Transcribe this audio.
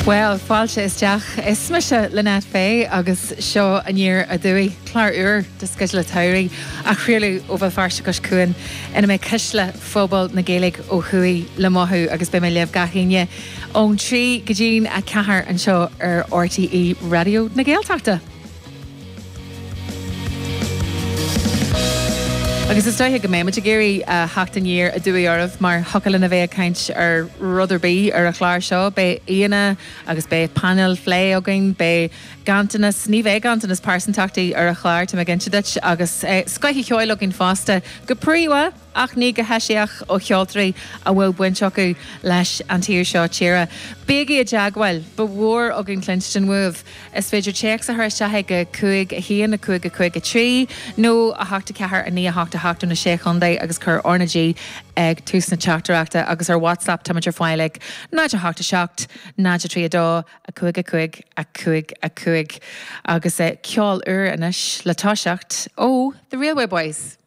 Bhuel, fáilte isteach. Is mise Lynette Fay agus seo Aniar Aduaidh, clár úr de Sceideal an tSamhraidh á chraoladh ó Bhéal Feirste Cois Cuain ina mbeidh cuisle phobal na Gaeilge ó thuaidh le mothú agus beidh mé libh gach Aoine ón 3 go dtí'n 4 anseo ar RTÉ Raidió na Gaeltachta. Agus is dóiche go mbeidh muid ag iarraidh theacht aniar aduaidh oraibh mar thiocfadh linn a bheith ag caint ar rud ar bith ar an chlár seo. Beidh aíonna agus beidh painéal phlé againn, beidh ganntanas, ní bheidh ganntanas pearsantachtaí ar an chlár, tá mé ag inse duit, agus scoith an cheoil againn fosta, go príomha! ach ní go heisiach ó cheoltóirí a bhfuil baint acu leis an tír seo tíre. Bígí i dteagmháil, ba mhór againn cluinstin uaibh. Is féidir téacs a chur isteach ag 5 1 5 5 3 nó 8 4 9 8 8 ó na Sé Chontae agus cuir R na G ag tús na teachtaireachta agus ar WhatsApp táimid ar fáil ag 0 8 7 0 3 2 5 5 5 5 agus ceol úr anois le toiseacht ó The Railway Boys.